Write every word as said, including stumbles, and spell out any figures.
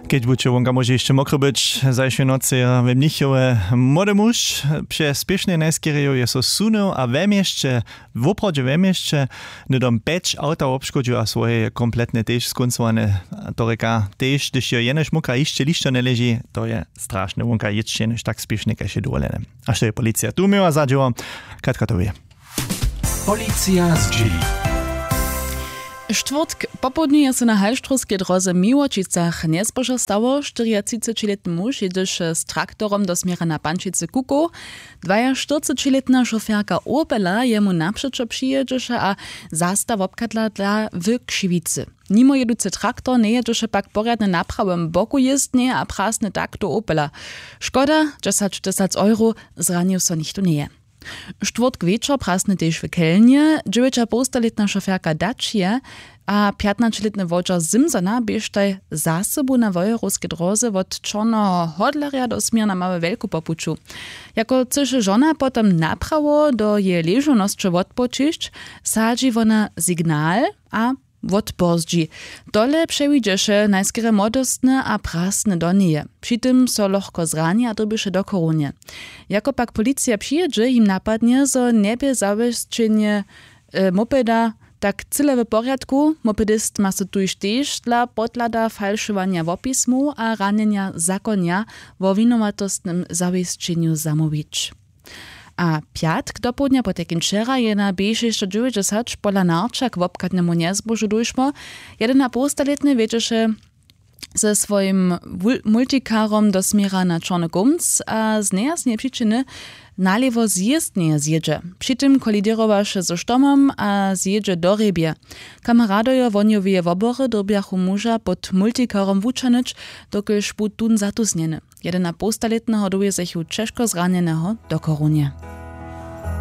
Kedźbuće wonka móže hišće mokry być, zašłej nocy je w mnichowje młody muž přez spěšnje najskerjeju je so sunył a we měsće, woprawdźe we měsće, hnydom pjeć awta wobškodźił a swoje je kompletnje tež skóncowane. To rěka tež, hdyž jo jenož mokra hišće lišćo njeleži, to je strašne, wonka jětš jenož tak spěšnje kaž je dowolene. A što je policija tu měła za dźěło? Katka to wě. Policija zdźěli. Štwórtk popołdnju je so na halštrowskej dróze w Miłočicach njezbožo stało. Štyriatřicećilětny muž jědźeše z traktorom do směra na pančicy kukow. Dwajaštyrcećilětna šoferka opela jemu napřećo přijědźeše a zasta wobchadla dla w křiwicy. Nimo jěducy traktor njejědźeše pak porjadnje na prawym boku jězbnje a prasny tak do opela. Škoda, dźesaćtysac euro. Zranił so nichtó njeje. Štwórtk wječor prasny tež w kelnje. Dźewjećapołstalětna šoferka dačije a pjatnaćelětny wodźer simsona běštaj za sobu na wojerowskej dróze wot čorneho hodlerja do směr na małe wjelku po puću. Jako chcyše žona potom naprawo do jeje ležownosće wotpočišć, sadźi wona signal a wotpozdźi. Tole přewidźeše najskerje młodostny a prasny do njeje. Při tym so lochko zrani a dyrbješe do chorownje. Jako pak policija přijědźe, jim napadnje zo njebě zawěsćenje mopeda tak cyle w porjadku. Mopedist ma so tuž tež dla podhlada falšowanja wopismow a ranjenja zakonja wo winowatostnym zawěsćenju zamołwić. A pjatk dopołdnja potajkim wčera je na b šěsćadźewjećdźesat pola narčak wobchadnemu njezbožu dóšło. Jedenapołstalětny wjedźeše ze swojim multikarom do směra na čorny kómc a z nejasneje přičiny nalěwo zjězd njeje zjědźe. Při tym koliděrowaše ze štomom a zjědźe do hrjebje. Kameradojo wohnjoweje wobory dyrbjachu muža pod multikarom wućahnyć, dokelž bu tón zatusnjeny. Jedenapołstalětneho dowjezechu ćežko zranjeneho do chorownje.